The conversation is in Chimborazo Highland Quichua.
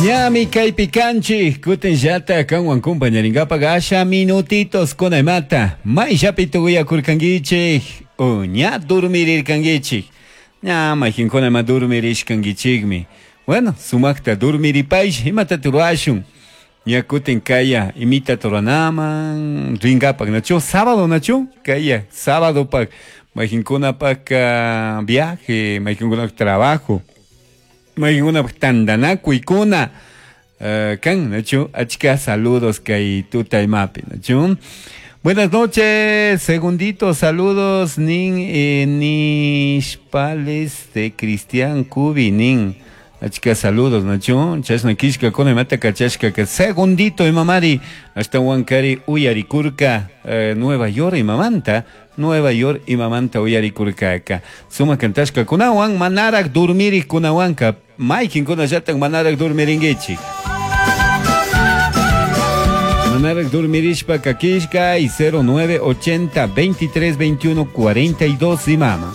Ñami kaypi kanchik kutinllata kanwan compañarinkapak asha minutitos kunaymata mayllapi tukuyakurkankichik o ña dormirirkankichik ña mayqinkuna ima dormirishkankichikmi bueno sumakta dormiripaysh imata rurashun ña kutin kaya imita ruranaman rinkapak nachu sábado nachu kaya sábadopak mayqinkunapak viaje mayqinkunapak trabajo mayqinkunapak tantanakuykuna kan nachu achka saludos kay tuta imapi nachu Buenas noches, segundito, saludos, nin nishpales de Cristian Cubi, nin. Achka saludos, nachu, chashna kishka kuna imata kachashka ka segundito imamari, hasta Huancari uyarikurka, Nueva York imamanta, Nueva York imamanta uyarikurkaka. Suma kantashka kunawan, manarak dormirik kunawanka, mayqinkunallatak manarak dormirinkichik. Manarak dormirishpa kakishka y 0980 23 21 42 imama.